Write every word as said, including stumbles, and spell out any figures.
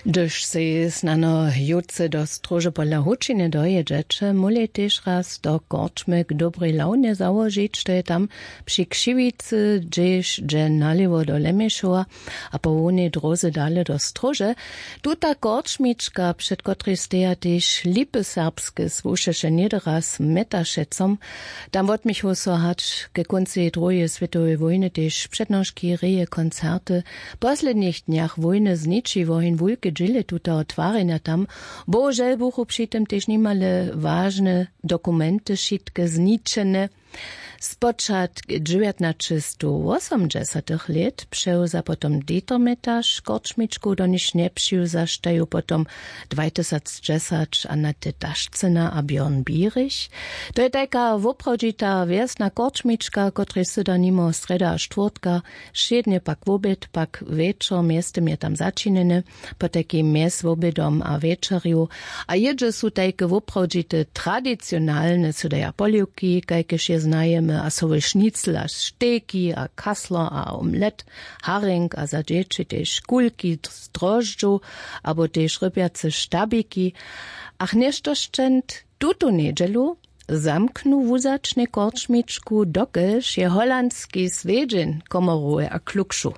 Hdyž sej snano jutře do stróže pola hučiny dojědźeće, móhli tež raz do korčmy k dobrej lawnje załožić, to je tam při křiwicy, hdźež dźe nalěwo do lemješowa a po hłownej dróze dale do stróže. Tuta korčmička, před kotrej steja tež lipy serbske, słušeše něhdy raz metašecom. Tam wotměchu so hač ke kóncej druheje swětoweje wójny tež přednoški, reje, koncerty. W poslednich dnjach wójny zniči woheń wulke dźěle tuteho twarjenja tam. Bohužel buchu při tym tež nimale wažne dokumenty wšitke zničene. Spočatk dźewjatnaćestowosomdźesatych lět přewza potom Dieter Metaš korčmičku, do nichž njepřiwzaštaj ju potom dwajtysacdźesać Annette Dašcyna a Björn Bierich. To je tajka woprawdźita wjesna korčmička, kotrej syda nimo srjeda a štwórtka, wšědnje pak woběd, pak wječor, mjeztym je tam začinjene. Potajkim mjez wobědom a wječorju a jědźe su tajke woprawdźite tradicionalne sydaja poliwki, kajkež je znajemy, a sowy šnicl a štejki a kasler a omlet, haring a za dźěći tež kulki z droždźow abo tež rybjace štabiki. Ach, něšto šćent, tutu njedźelu zamknu wuzačnje korčmičku, dokelž je holandski swjedźeń komorowy a klukšu.